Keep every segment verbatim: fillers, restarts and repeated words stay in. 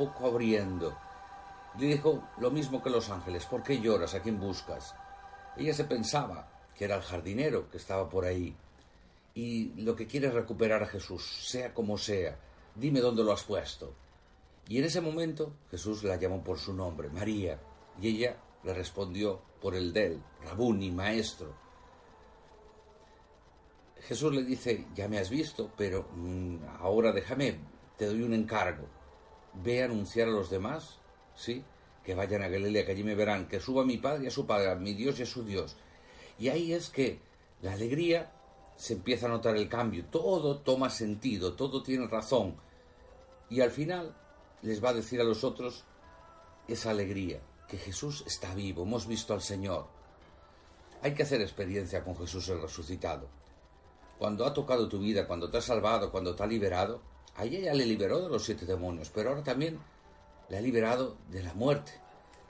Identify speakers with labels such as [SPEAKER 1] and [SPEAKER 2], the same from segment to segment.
[SPEAKER 1] poco abriendo. Le dijo lo mismo que los ángeles: ¿por qué lloras? ¿A quién buscas? Ella se pensaba que era el jardinero que estaba por ahí. Y lo que quiere es recuperar a Jesús, sea como sea. Dime dónde lo has puesto. Y en ese momento Jesús la llamó por su nombre, María. Y ella le respondió por el de él, Rabuni, maestro. Jesús le dice: ya me has visto, pero mmm, ahora déjame, te doy un encargo. Ve a anunciar a los demás, ¿sí?, que vayan a Galilea, que allí me verán, que suba a mi Padre y a su Padre, a mi Dios y a su Dios. Y ahí es que la alegría se empieza a notar el cambio, todo toma sentido, todo tiene razón. Y al final les va a decir a los otros esa alegría, que Jesús está vivo, hemos visto al Señor. Hay que hacer experiencia con Jesús el resucitado. Cuando ha tocado tu vida, cuando te ha salvado, cuando te ha liberado, a ella ya le liberó de los siete demonios, pero ahora también le ha liberado de la muerte.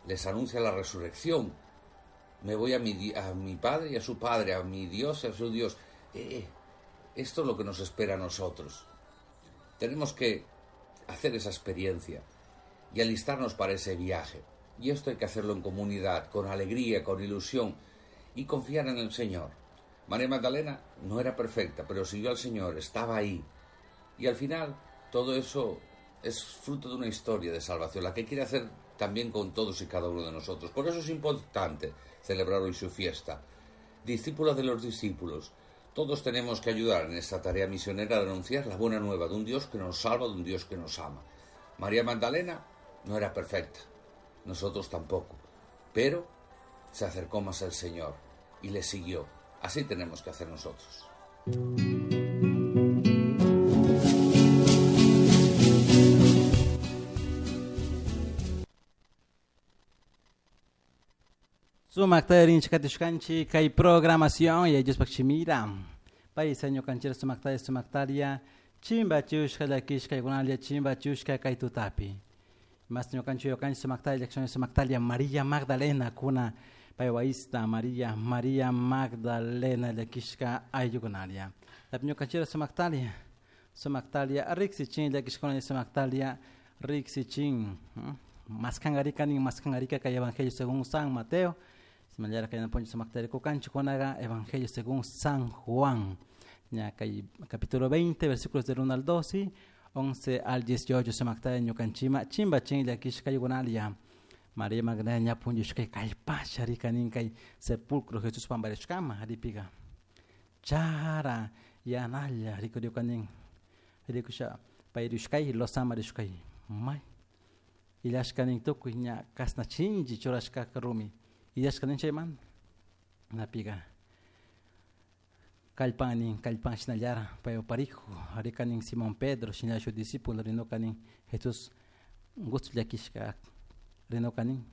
[SPEAKER 1] Les anuncia la resurrección. Me voy a mi, a mi Padre y a su Padre, a mi Dios y a su Dios. Eh, esto es lo que nos espera a nosotros. Tenemos que hacer esa experiencia y alistarnos para ese viaje. Y esto hay que hacerlo en comunidad, con alegría, con ilusión y confiar en el Señor. María Magdalena no era perfecta, pero siguió al Señor, estaba ahí. Y al final todo eso es fruto de una historia de salvación, la que quiere hacer también con todos y cada uno de nosotros. Por eso es importante celebrar hoy su fiesta. Discípula de los discípulos, todos tenemos que ayudar en esta tarea misionera de anunciar la buena nueva de un Dios que nos salva, de un Dios que nos ama. María Magdalena no era perfecta, nosotros tampoco, pero se acercó más al Señor y le siguió. Así tenemos que hacer nosotros.
[SPEAKER 2] Sumakta rinchikatishkanchi kay programación y ellos pakchimira. País año canchera sumakta sumaktaria chimba chushka llakishka igunalia chimba chushka kay tutapi. Mas ñukanchi ñukanchi sumaktaria llakshani sumaktaria María Magdalena kuna paywaista María María Magdalena llakishka ayllukunalia. Tapi ñukanchira sumaktaria sumaktaria riksichin llakishkuna sumaktaria riksichin. Maskangarika nin maskangarika kay Evangelio según San Mateo. Simalyara kay naponcho sumaktaria kukanchi kunaga Evangelio según San Juan. Ya kay capítulo veinte versículos del uno al doce, once al dieciocho sumaktaria ñukanchima chimba chin llakishka ayllukunalia. María Magdalena ñapuncho kay pasha rika nin kay sepulcro Jesús pambarishkama ripiga. Chara yanalla rikuriukanin rikusha payrushkay losama rishkay may. Illashkanin tukuy ña kasna chinchi churashkaka rumi illashkanin chayman napiga kallpanin kallpan shinallara payuparijo rikanin Simón Pedro shinallashu discípulo rinukanin Jesús gusto llakishka rinukanin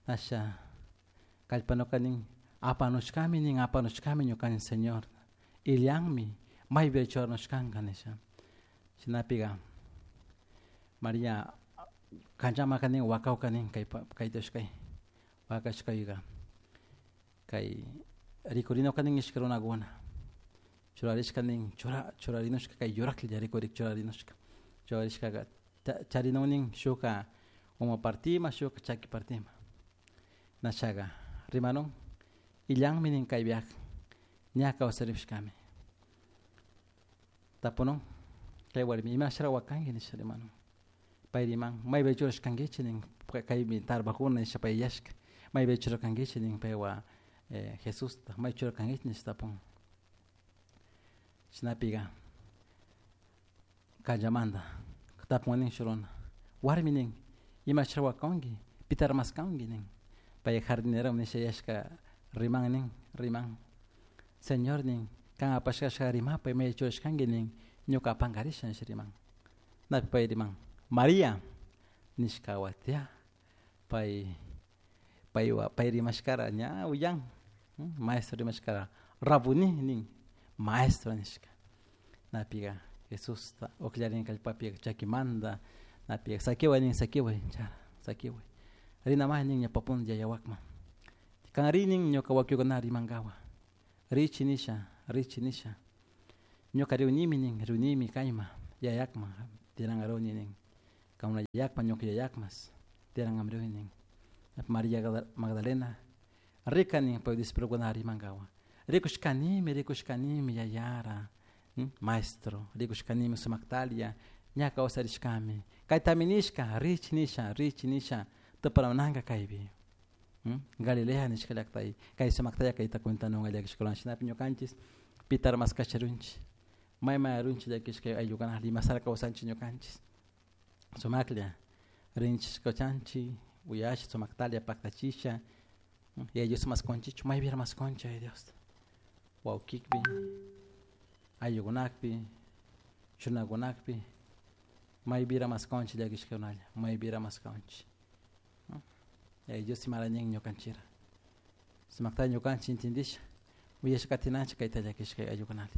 [SPEAKER 2] nasha kallpanukanin apanushkami nin apanushkami ñukanin Señor illanmi maypi churanushkanka nisha shinapiga María kanchama kanin wakawkanin kay kaytashkay wakashkayga kay rikurinokanin ishka runakuna churarishkanin chura churarinushka kay yuraklla rikurik churarinushka churarishkaka charinunin shuka uma partima shuka chaki partima nashaga rimanun illanmi nin kay viaje ña kawsarishkami tapunun kay warmi imashara wakanki nisha rimanun payriman maypi churashkankichik nin kaymi tarbajuna nisha payllashka maypi churarkankichik nin paywa eh, Jesusta may churarkankichik nisha tapun shinapiga kallamanta tapun nin shuruna warmi nin imashara wakanki pitar maskanki nin pay jardinero nisha yashka riman nin riman Señor nin kan apashkashka rimapay may churashkanki nin ñuka apankarisha nisha riman napi pay riman María nishka watia pay paywa pay rimashkara ña uyan maestro rimashkara Rabuni nin maestro nishka napiga Jesusta uqllarin kallpapi chakimanta napiga sakiway nin sakiway chara sakiway rinamay nin ñawpapun yayawakman kan rinin ñuka wakiukuna rimankawa richi nisha richi nisha ñuka riunimi nin riunimi kayma yayakman tirangaruni nin Kauna yakma ñuka yayakmas tiyaran hambriuni Maria Magdalena rikani pay discipulokuna rimankawa rikushkanimi rikushkanimi yayara maestro rikushkanimi sumaktalia ña kawsarishkami kaytami nishka rich nisha rich nisha tuparamunanka kaypi Galilea nishka llaktay kay sumaktalla kayta cuentanunka llakishkawan shinapi ñukanchik pitar maskasharunchik may may arunchik llakishka ayllukuna limasara kawsanchik ñukanchik sumaklla rinchik kawchanchik uyasha sumaktalia paktachisha y ellos masconchichu maypi masconcha ay Dios wawkikpi ayllukunakpi chunakunakpi maypira masconchi llakishkakunalla maypira masconchi Dios imarañin ñukanchira sumakta ñukanchik intindisha uyasha katinanchik kayta llakishka ayllukunalla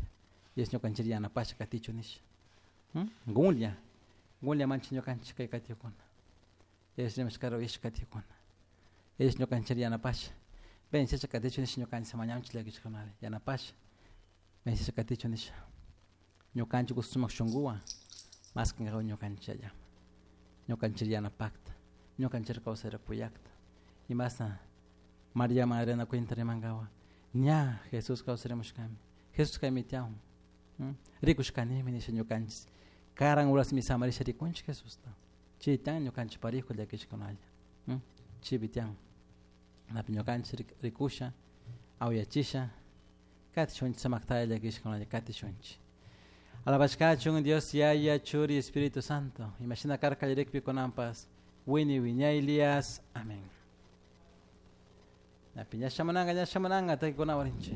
[SPEAKER 2] Dios ñukanchik yanapasha katichu nisha gunlla gunlla manchik ñukanchik kay katikuna Dios rimashkara uyasha katikuna Dios ñukanchik yanapasha vencesha katichu nisha ñukanchik mañanchik llakishkakunalla yanapasha vencesha katichu nisha ñukanchik sumak shunkuwan maskankawan ñukanchik allama ñukanchik yanapakta ñukanchik kawsayra kuyakta imashna Maria Magdalena cuenta rimankawa ña Jesús kawsarimushkami Jesús kaymi tiyahun rikushkanimi nisha ñukanchik karan urasmi samarisha rikunchik Jesusta chay tiyan ñukanchik parejo llakishkunalla chaypi tiyan napi ñukanchik rikusha awyachisha katishunchik samaktalla llakishkunalla katishunchik alabashkachun Dios Yaya Churi Espíritu Santo imashina karka llarikpi kunanpas wini wiñaylias amén. Napi ña shamunanka ña shamunanka takikunawan rinchik.